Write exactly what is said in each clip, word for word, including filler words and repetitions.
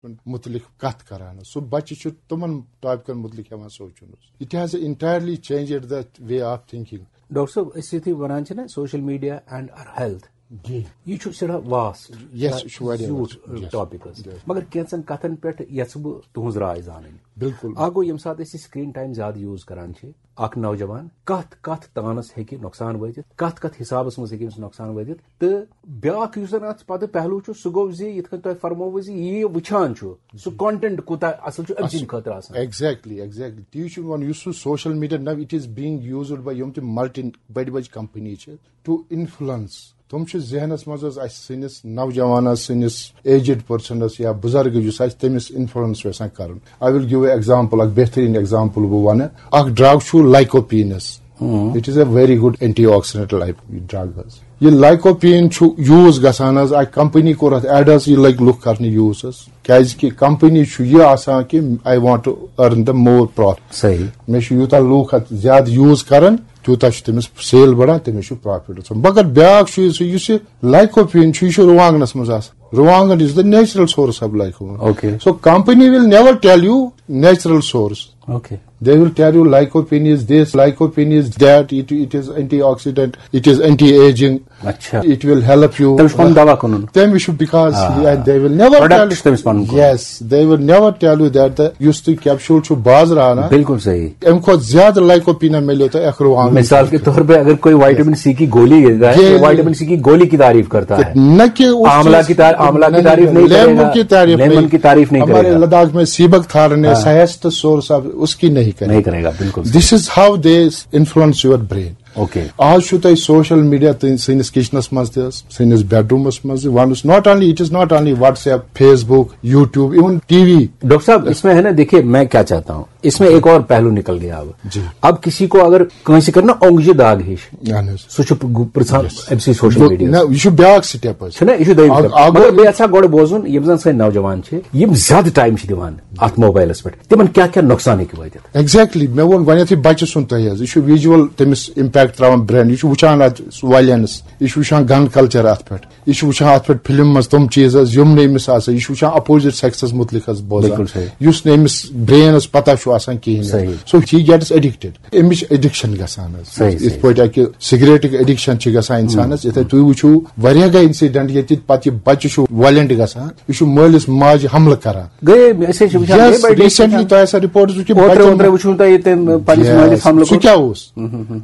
متعلق کتھ کران۔ سُہ بچہِ چھُ تِمن ٹاپکن متعلق ہٮ۪وان سونچُن۔ It has entirely changed the way of thinking. Doctor صٲب، أسۍ یُتھُے وَنان چھِ نا social media and our health، جی۔ یہِ چھُ سٮ۪ٹھاہ vast، Yes، یہِ چھُ واریاہ زیوٗٹھ vast۔ Yes۔ ٹاپک حظ۔ Yes۔ مگر کینٛژن کتھن پٮ۪ٹھ یژھٕ بہٕ تُہنٛز راے زانٕنۍ۔ بِلکُل۔ اکھ گوٚو، ییٚمہِ ساتہٕ أسۍ یہِ screen time زیادٕ use کران چھِ، اکھ نوجوان کتھ کتھ تانس ہیٚکہِ نۄقصان وٲتِتھ، کتھ کتھ حسابس منٛز ہیٚکہِ أمِس نۄقصان وٲتِتھ۔ تہٕ بیاکھ یُس زن اتھ پتہٕ پہلو چھُ، سُہ گوٚو زِ یِتھ کٔنۍ تۄہہِ فرمووُ زِ یہِ وٕچھان چھُ، سُہ content کوٗتاہ اصل چھُ أمۍ سٕنٛدِ خٲطرٕ آسان۔ Exactly, exactly۔ تی چھُ وَنُن، یُس سُہ social media now it is being used by یِم تہِ multi بٔڑۍ بٔڑۍ company چھِ to influence۔ تِم چھِ ذہنس منٛز حظ اسہِ سٲنِس نوجوانس، سٲنِس aged personس یا بُزرگ یُس آسہِ، تٔمِس influence یژھان کرُن۔ I will give a example، اکھ بہترین example بہٕ ونہٕ۔ اکھ drug چھُ lycopeneس۔ It is a very good antioxidant، like، drug حظ۔ یہِ lycopene چھُ use گژھان حظ، اکھ company کوٚر اتھ ad حظ، یہِ لٔگۍ لُکھ کرنہِ use حظ۔ کیازِ کہِ company چھُ یہِ آسان کہِ I want to earn the more profit۔ صحیح۔ مےٚ چھُ یوٗتاہ لوٗکھ اتھ زیادٕ use کران، تیوٗتاہ چھُ تٔمِس sale بڑان، تٔمِس چھُ profit گژھان۔ مگر بیاکھ چیٖز چھُ، یُس یہِ lycopene چھُ، یہِ چھُ رُوانٛگنس منٛز آسان۔ رُوانٛگن is the natural source of lycopene۔ Okay۔ So company will never tell you natural source۔ Okay۔ They will tell you lycopene is this, lycopene is that, it, it is antioxidant, it is anti-aging, اچھا۔ It will help you۔ تٔمِس چھُ پَنُن دوا کٕنُن۔ تٔمِس چھُ، because آ۔ and they will never Product tell چھُ تٔمِس پَنُن کٕنُن۔ Yes, they will never tell you that the یُس تُہۍ capsule چھُ بازرٕ اَنان، بِلکُل صحیح۔ اَمہِ کھۄتہٕ زیادٕ lycopene مِلیو تۄہہِ اکھ رُوانٛگن۔ مثال کے طور پہ اگر کوئی وائٹامن سی کی گولی لیتا ہے، یہ تو وائٹامن سی کی گولی کی تعریف کرتا ہے۔ نہ کہ اس آملہ چیز کی تار-، آملہ کی تعریف نہیں کرے لیمن گا۔ کی تعریف لیمن نہیں۔ کی تعریف نہیں ہمارے کرے گا۔ لداخ میں سیبک تھارنے ہاں۔ سہست سورس، اب اس کی نہیں کرے نہیں کرے گا، بالکل صحیح۔ This is how they influence your brain۔ Okay. آز چھُ تۄہہِ social media تُہۍ سٲنِس kitchenس منٛز تہِ حظ، سٲنِس bedroomس منٛز تہِ۔ Once not only, it is not only WhatsApp, Facebook, YouTube, even T V۔ Doctor صاحب، اس میں ہے نا، دیکھیے میں کیا چاہتا ہوں، اس میں ایک اور پہلو نکل گیا اب۔ جی۔ اب کسی کو اگر کٲنٛسہِ کٔر نا اونٛگجہِ داغ ہِش، اہن حظ۔ سُہ چھُ گ-، پرٛژھان أمۍ سٕے social گوٚو، media's۔ نہ، یہِ چھُ بیٛاکھ step حظ۔ چھُنہ، یہِ چھُ دوٚیِم اَکھ، step۔ اَکھ مگر گوٚو بیٚیہِ یَژھا گۄڈٕ بوزُن، یِم زَن سٲنۍ نوجوان چھِ، یِم زیادٕ time چھِ دِوان اَتھ mobileس پٮ۪ٹھ، تِمن کیٛاہ کیٛاہ نۄقصان ہیٚکہِ وٲتِتھ؟ Exactly، مےٚ ووٚن گۄڈٕنیتھٕے بچہِ سُنٛد تۄہہِ حظ، یہِ چھُ visual تٔمِس impact تراوان brain، یہِ چھُ وٕچھان اتھ violence، یہِ چھُ وٕچھان gun culture اتھ پٮ۪ٹھ، یہِ چھُ وٕچھان اتھ پٮ۪ٹھ فلم منٛز تِم چیٖز حظ یِم نہٕ أمِس آسان، یہِ چھُ وٕچھان opposite sexس متعلق حظ بوزان، بِلکُل صحیح۔ یُس نہٕ أمِس brainس پتہ چھُ آسان کِہیٖنۍ حظ۔ صحیح۔ So he gets addicted، أمِس چھِ addiction گژھان حظ۔ صحیح، یِتھ صحیح۔ پٲٹھۍ اکہِ سگریٹٕکۍ addiction چھِ گژھان انسانس، یِتھے تُہۍ وٕچھِو واریاہ گٔے incident ییٚتہِ پتہٕ یہِ بچہِ چھُ violent گژھان، یہِ چھُ مٲلِس ماجہِ حملہٕ کران۔ گٔے، أسۍ حظ چھِ وٕچھان، گٔے Yes، بٔڑۍ بٔڑۍ recently تۄہہِ آسہِ report وٕچھمٕژ، اوترٕ بچن اوترٕ وٕچھُن تۄہہِ ییٚتہِ تٔمۍ پننِس Yes، مٲلِس حملہٕ سُہ کوٚر۔ کیٛاہ اوس؟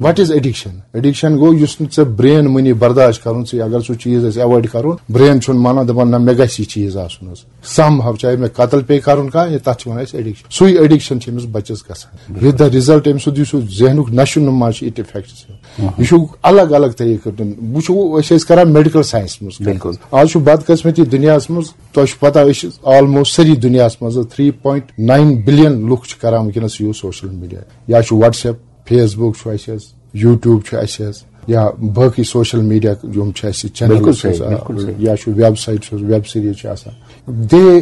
What is addiction؟ Addiction گوٚو یُس نہٕ ژےٚ brain money برداشت کرُن ژٕ، اگر سُہ چیٖز آسہِ avoid کرُن، brain چھُنہٕ مانان، دپان نہ مےٚ گژھِ یہِ چیٖز آسُن حظ۔ Somehow چاہے مےٚ قتل پیٚیہِ کرُن کانٛہہ، یہِ تتھ چھِ ونان أسۍ addiction۔ سُے addiction چھِ أمِس بچس گژھان۔ With the result أمۍ سُنٛد یُس سُہ ذہنُک نشو نما چھُ، it affects him۔ یہِ چھُ الگ الگ طریقہٕ دیُن۔ وٕچھو أسۍ ٲسۍ کران medical science منٛز۔ بِلکُل۔ آز چھُ بدقسمتی دُنیاہس منٛز، تۄہہِ چھُ پتہ أسۍ چھِ almost سٲری دُنیاہس منٛز three point nine billion لُکھ چھِ کران وٕنکیٚنس use social media۔ یا چھُ WhatsApp، Facebook چھُ اَسہِ حظ، YouTube چھُ اَسہِ حظ، یا باقٕے social media یِم چھِ اَسہِ channel بِلکُل چھِ صحیح، حظ، بِلکُل صحیح۔ یا چھُ website چھُ حظ، web series چھِ آسان۔ They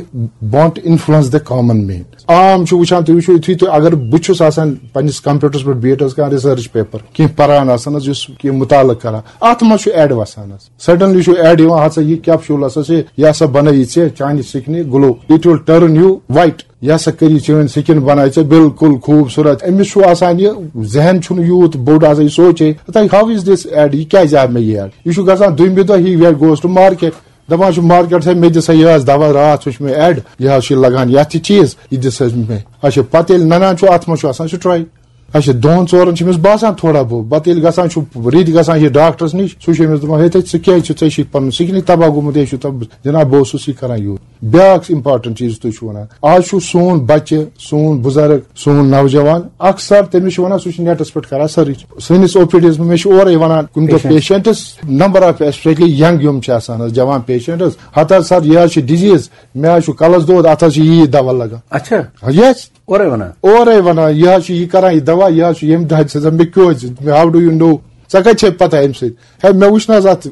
want to influence the common man۔ عام چھُ وٕچھان، تُہۍ وٕچھِو یُتھُے تُہۍ، اگر بہٕ چھُس آسان پننِس computerس پٮ۪ٹھ بِہِتھ حظ کانٛہہ research paper، کینٛہہ پران آسان حظ، یُس کینٛہہ مُطالعہٕ کران، اتھ منٛز چھُ ad وسان حظ۔ Suddenly چھُ ad یِوان، ہسا یہِ capsule ہسا چھِ، یہِ ہسا بنٲیی ژےٚ چانہِ skinہِ glow، it will turn you white۔ یہِ ہسا کٔری چٲنۍ skin بناوِ ژےٚ بالکل خوٗبصوٗرت۔ أمِس چھُ آسان یہِ ذہن چھُنہٕ یوٗت بوٚڑ آسان، یہِ سونچے، تۄہہِ how is this ad، یہِ کیازِ آو مےٚ یہِ ad؟ یہِ چھُ گژھان دوٚیمہِ دۄہ، he goes to market، دپان چھُ market، ہے مےٚ دِ سا یہِ حظ دوا، راتھ وٕچھ مےٚ ad، یہِ حظ چھُ لگان یتھ تہِ چیٖز، یہِ دِ سا مےٚ۔ اچھا، پتہٕ ییٚلہِ ننان چھُ، اتھ منٛز چھُ آسان steroid۔ اچھا، دۄن ژورن چھُ أمِس باسان تھوڑا بہت، پتہٕ ییٚلہِ گژھان چھُ، رٕتۍ گژھان چھِ ڈاکٹرس نِش، سُہ چھُ أمِس دپان، ہے تہٕ ژٕ کیازِ چھُ، ژےٚ چھُے پنُن skinٕے تباہ گوٚمُت، ہے چھُ تب-، جناب، بہٕ اوسُس یہِ کران یوٗت۔ بیٛاکھ important چیٖز تُہۍ چھِو وَنان، آز چھُ سون بَچہٕ، سون بُزرٕگ، سون نوجوان اکثر تٔمِس چھِ وَنان سُہ چھُ netس پٮ۪ٹھ کران search۔ سٲنِس O P Dس منٛز مےٚ چھِ اورَے وَنان کُنہِ دۄہ Patient۔ Patients، number of especially young یِم چھِ آسان حظ، جوان patients، ہتہٕ حظ سر یہِ حظ چھِ disease، مےٚ حظ چھُ کلس دود، اتھ حظ چھِ یی دوا لگان۔ اچھا۔ Yes۔ اورے ونان۔ اورے ونان، یہِ حظ چھُ یہِ کران، یہِ دوا، یہِ حظ چھُ ییٚمہِ دۄہ چھِ آسان، مےٚ کیٛازِ، مےٚ how do you know؟ ژےٚ کتہِ چھے پتہ اَمہِ سۭتۍ؟ ہے، مےٚ وٕچھ نہ حظ اتھ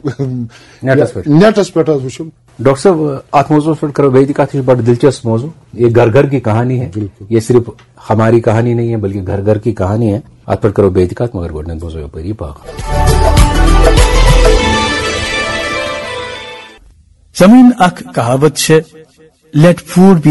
نیٹس پٮ۪ٹھ۔ نیٹس پٮ۪ٹھ حظ وٕچھُم۔ ڈاکٹر صٲب، اتھ موضوعس پٮ۪ٹھ کرو بیٚیہِ تہِ کتھ، یہِ چھُ بڑٕ دلچسپ موضوع۔ یہ گھر گھر کی کہانی ہے۔ بالکل۔ یہ صرف ہماری کہانی نہیں ہے، بلکہ گھر گھر کی کہانی ہے۔ اتھ پٮ۪ٹھ کرو بیٚیہِ تہِ کتھ، مگر گۄڈٕنٮ۪تھ بوزو یپٲرۍ یہِ باغ۔ زمین اکھ کہاوت چھے، Let food be